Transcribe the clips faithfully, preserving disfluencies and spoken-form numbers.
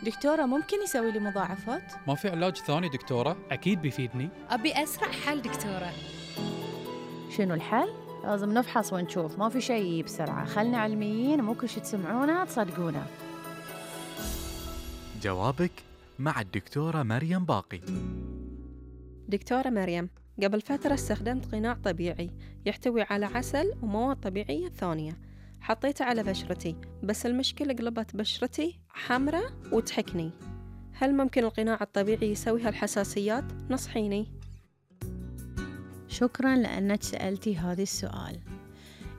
دكتورة ممكن يسوي لي مضاعفات؟ ما في علاج ثاني دكتورة؟ أكيد بيفيدني. أبي أسرع حل دكتورة. شنو الحل؟ لازم نفحص ونشوف، ما في شيء بسرعة. خلنا علميين، مو كل شي تسمعونه تصدقونه. جوابك مع الدكتورة مريم باقي. دكتورة مريم، قبل فترة استخدمت قناع طبيعي يحتوي على عسل ومواد طبيعية ثانية، حطيته على بشرتي، بس المشكلة قلبت بشرتي حمرة وتحكني. هل ممكن القناع الطبيعي يسوي هالحساسيات؟ نصحيني. شكراً لأنك سألتي هذا السؤال.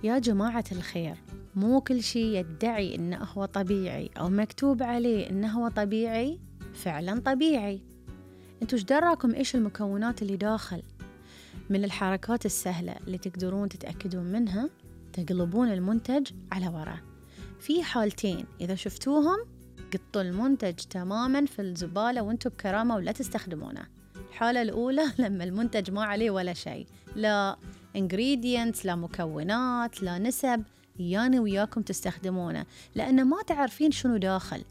يا جماعة الخير، مو كل شيء يدعي إنه هو طبيعي أو مكتوب عليه إنه هو طبيعي فعلاً طبيعي. انتوا ايش دراكم إيش المكونات اللي داخل؟ من الحركات السهلة اللي تقدرون تتأكدون منها، تقلبون المنتج على ورا. في حالتين إذا شفتوهم قطوا المنتج تماماً في الزبالة وانتوا بكرامة ولا تستخدمونه. الحالة الأولى لما المنتج ما عليه ولا شيء، لا ingredients، لا مكونات، لا نسب، يعني وياكم تستخدمونه، لأن ما تعرفين شنو داخل.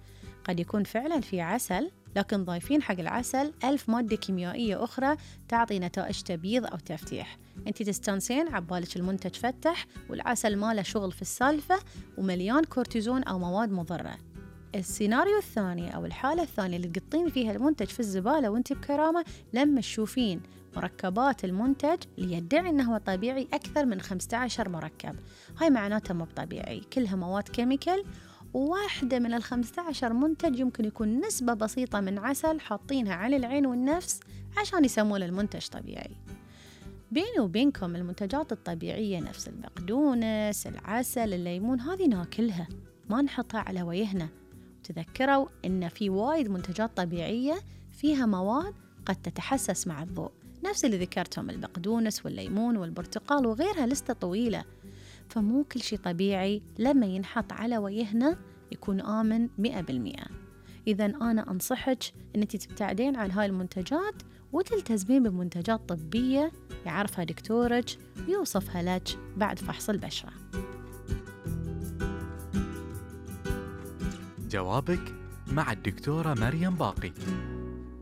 قد يكون فعلا في عسل، لكن ضايفين حق العسل ألف مادة كيميائية أخرى تعطي نتائج تبييض أو تفتيح. أنت تستانسين عبالك المنتج فتح والعسل ما له شغل في السالفة ومليان كورتيزون أو مواد مضرة. السيناريو الثاني أو الحالة الثانية اللي تقطين فيها المنتج في الزبالة وانت بكرامة، لما تشوفين مركبات المنتج اللي يدعي أنه هو طبيعي أكثر من خمسة عشر مركب، هاي معناته مو طبيعي، كلها مواد كيميكال. وواحدة من الخمسة عشر منتج يمكن يكون نسبة بسيطة من عسل حاطينها على العين والنفس عشان يسمون المنتج طبيعي. بيني وبينكم المنتجات الطبيعية نفس البقدونس، العسل، الليمون، هذه ناكلها ما نحطها على وجهنا. تذكروا إن في وايد منتجات طبيعية فيها مواد قد تتحسس مع الضوء، نفس اللي ذكرتهم البقدونس والليمون والبرتقال وغيرها، لستة طويلة. فمو كل شيء طبيعي لما ينحط على وجهنا يكون آمن مئة بالمئة. إذا أنا أنصحك أنك تبتعدين عن هاي المنتجات وتلتزمين بمنتجات طبية يعرفها دكتورك ويوصفها لك بعد فحص البشرة. جوابك مع الدكتورة مريم باقي.